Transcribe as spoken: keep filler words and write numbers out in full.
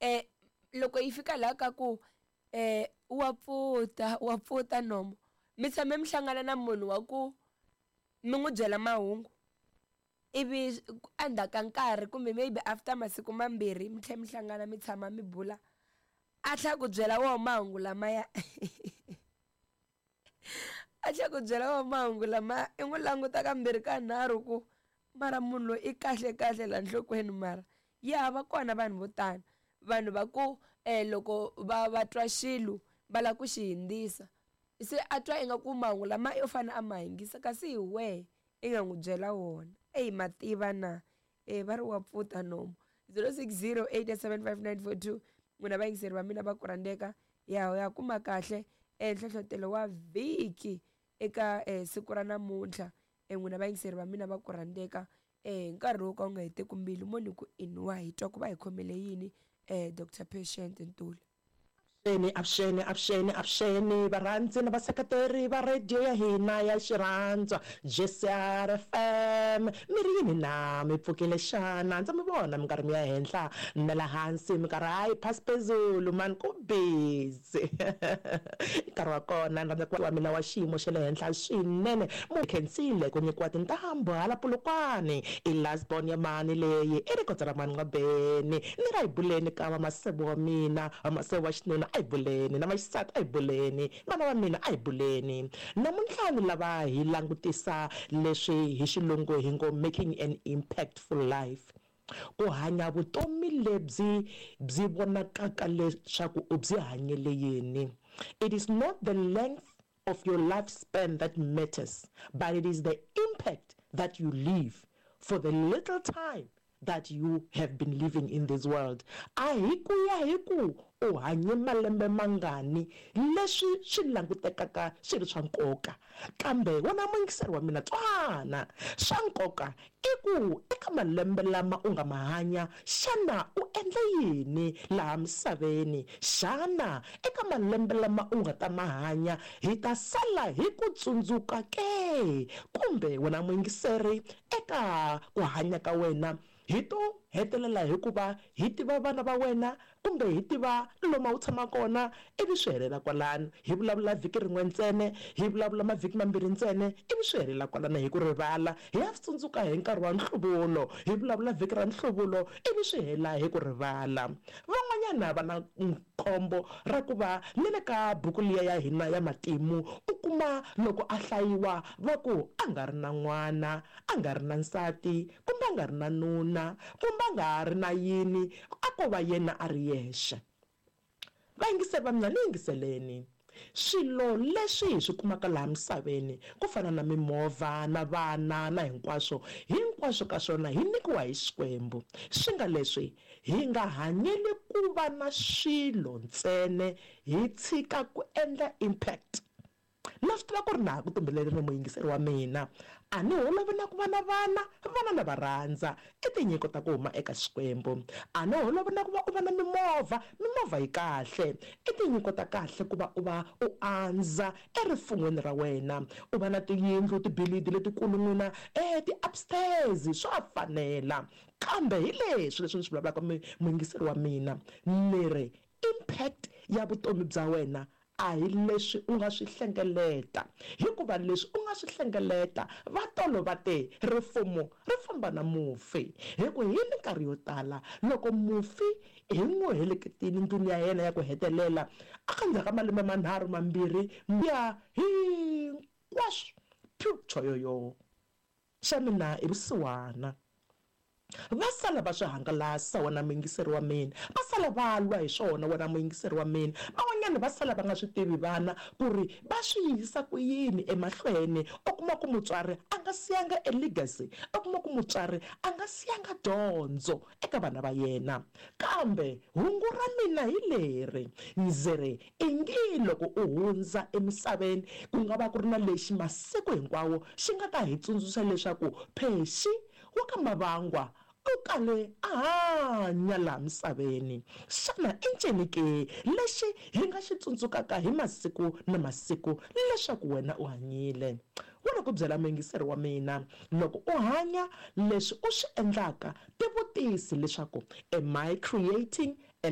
um loko yi fika laha ka ku um wa pfuta wa pfuta nomo mi tshame mi hlangana na munhu wa ku mi n'wi byela mahungu ivi endzhaku ka nkarhi kumbe maybe after masiku mambirhi mi tlhela mi hlangana mi tshama mi bula a tlhela ku byela woho mahungu lamaya a tlhela ku byela woho mahungu lamaya i n'wi languta kambirhi ka nharhu ku mara munhu loyi i kahle kahle laha nhlokweni mara ya va kona vanhu vo tano vanhu va ku um loko va va twa xilo va lava ku xi hundzisa se a twa ingaku mahungu lama yo fane a ma yingisa kasi hi wehe i nga n'wi byela wona eyi mativa na e va ri wa pfuta nomu zero six zero eight seven five nine four two n'wina vayingiseri va mina va ku rhandzeka ya ya kuma kahle e nhlohlotelo wa vhiki eka um siku ra namuntlha e n'wina vayingiseri va mina va ku rhandzeka um nkarhi wo ka wu nga heteki mbilu mo ni ku inwa hi twa ku va hi khomele yini um Doctor Patient Ntuli. Avuxeni, avuxeni, avuxeni, avuxeni varhandzi na vaseketeri va radio ya hina ya xirhandzwa J C R F M. Mi ri yini na mi pfukile xana? Ndza mi vona minkarhi mi ya henhla na la hansi, minkarhi hayi phasi phezulu mani ku busy. Nkarhi wa kona ni rhandza ku wa mina wa xiyimo xa le henhla swinene mu khensile ku nyikiwa tintambu hala Polokwane i last born ya mani leyi i rikotsa ra mani N'wabeni ni ra hi buleni ka vamaseve wa mina vamaseve wa xinuna a hi buleni na vaxisati a hi buleni vana va mina a hi buleni namuntlha ni lava hi langutisa leswi hi xilungu hi ngo making an impactful life, ku hanya vutomi lebyi byi vonakaka leswaku u byi hanyele yini. It is not the length of your lifespan that matters, but it is the impact that you leave for the little time that you have been living in this world. A hi ku ya hi ku u hanye malembe mangani leswi swi langutekaka swi ri swa nkoka, kambe wena muyingiseri wa mina twana swa nkoka i ku eka malembe lama u nga ma hanya xana u endle yini laha misaveni, xana eka malembe lama u nga ta ma hanya hi ta sala hi ku tsundzuka ke, kumbe wena muyingiseri eka ku hanya ka wena hi to hetelela hikuva hi tiva vana va wena kumbe hi tiva lomu a wu tshama kona ivi swi helela kwalano, hi vulavula vhiki rin'we ntsena, hi vulavula mavhiki mambirhi ntsena ivi swi helela kwalano hi ku rivala, hi ya swi tsundzuka hi nkarhi wa nhluvulo, hi vulavula vhiki ra nhluvulo ivi swi hela hi ku rivala. Van'wanyana va na khombo ra ku va ni le ka buku liya ya hina ya matimu u kuma loko a hlayiwa va ku a nga ri na n'wana, a nga ri na nsati, kumbe a nga ri na nuna, kumbe a nga ri na yini, a ko va yena a ri yexe. Vayingiseri va mina ni yingiseleni swilo leswi hi swi kumaka laha misaveni ku fana na mimovha na vana na hinkwaswo hinkwaswo ka swona hi nyikiwa hi Xikwembu, swi nga leswi hi nga hanyeli ku va na swilo ntsena hi tshika ku endla impact. Na swi tiva ku ri na ha ku tumbelerile muyingiseri wa mina, a ni holovi na ku va na vana, vana na va rhandza, i tinyiko ta ku huma eka Xikwembu. A ni holovi na ku va u va na mimovha, mimovha yi kahle, i tinyiko ta kahle ku va u va u andza erifun'weni ra wena, u va na tiyindlu tibilidi letikulu n'wina eh ti-upstairs swa fanela, kambe hi leswi leswi ni swi vulavulaka muyingiseri wa mina ni ri impact ya vutomi bya wena a hi leswi u nga swi hlengeleta, hikuva leswi u nga swi hlengeleta va tolo va te rifumo ri famba na mufi, hi ku hi minkarhi yo tala loko mufi hi n'wi heleketile ndlwini ya yena ya ku hetelela a ka ndzhaku ka malembe manharhu mambirhi ya hinkwaswo pyu choyoyo xa mina i vusiwana va sala va swi hangalasa wena muyingiseri wa mina, va sala va lwa hi swona wena muyingiseri wa mina, van'wanyana va sala va nga swi tivi vana ku ri va swi yisa ku yini emahlweni. U kuma ku mutswari a nga siyanga e legacy, u kuma ku mutswari a nga siyanga dyondzo eka vana va yena, kambe hungu ra mina hi leri ndzi ri ingi loko u hundza emisaveni ku nga va ku ri na lexi masiku hinkwawo xi nga ta hi tsundzuxa leswaku Phexi wa ka Mavangwa u kale a hanya laha misaveni. Xana i ncini ke lexi hi nga xi tsundzukaka hi masiku na masiku leswaku wena u hanyile? Wena ku byela muyingiseri wa mina, loko u hanya leswi u swi endlaka tivutisi leswaku am I creating